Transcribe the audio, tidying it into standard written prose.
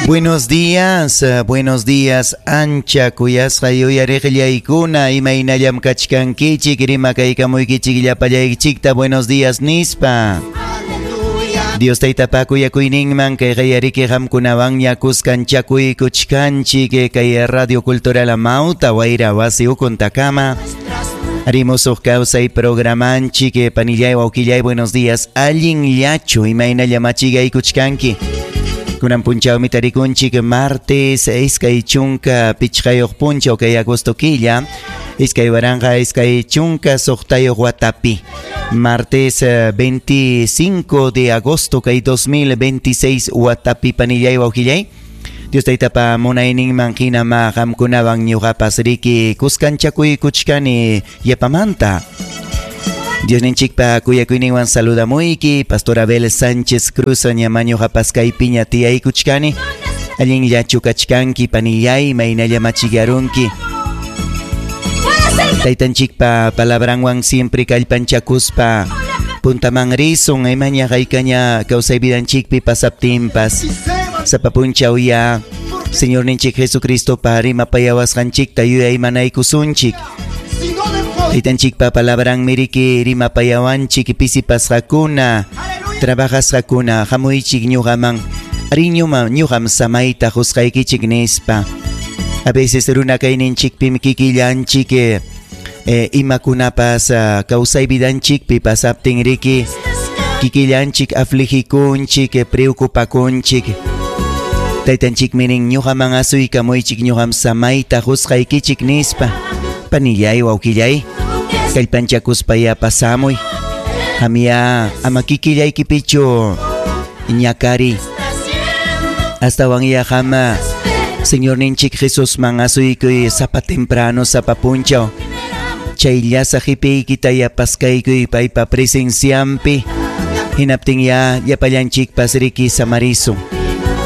Buenos días, buenos días, ancha kuyasqa yuyariqllaykuna, imaynallam kachkankichik, rimakaykamuykichik llapallaykichikta, buenos días nispa. Dios Taytapa kuyakuyninman kay qayariki qamkunawanña kuskanchakuykuchkanchik kay Radio Cultural Amauta wayra wasi ukuntakama. Rimusuq kawsay programanchik panillay wawqillay buenos días allinllachu imaynalla machigaykuchkanki. Kunan punchawmi tarikunchik martes 25 punchaw kay agosto killa 2026 watapi. Martes 25 de agosto kay 2026 watapi panillay wawqillay. Dios Taytapa munayninman hinama qamkunawan ñuqapas riki kuskanchakuykuchkani yapamanta. Diosninchikpa kuyakuyninwan saludamuyki Pastor Abel Sánchez Cruz ñama ñuqapas kaypiña tiyaykuchkani. Allinllachu kachkanki panillay maynalla machigarunki. Taytanchikpa palabranwan siempre kallpanchakuspa puntaman risun imaña haykaña kawsay vidanchikpi pasaptinpas. Sapa punchaw ya Señorninchik Jesucristo pa rimapayawasqanchikta yuyaymanaykusunchik. Taytanchikpa palabran miriki rimapayawanchik pisipasqakuna trabajasqakuna hamuychik ñuqaman ari ñuqam samayta qusqaykichik nispa. A veces runa kayninchikpim kikillanchik imakunapas kawsay vidanchikpi pasaptin riki kikillanchik afligikunchik preocupakunchik. Taytanchik mirin ñuqaman asuykamuychik ñuqam samayta qusqaykichik nispa. Panillay wawqillay kallpanchakuspaya pasamuy. Hamya ama kikillaykipichu ñakari. Astawan ya hama Señorninchik Jesusman asuykuy sapa temprano sapa punchaw. Chayllasa qipiykita paskaykuy paypa presenciampi. Hinaptin ya llapallanchikpas riki samarisun.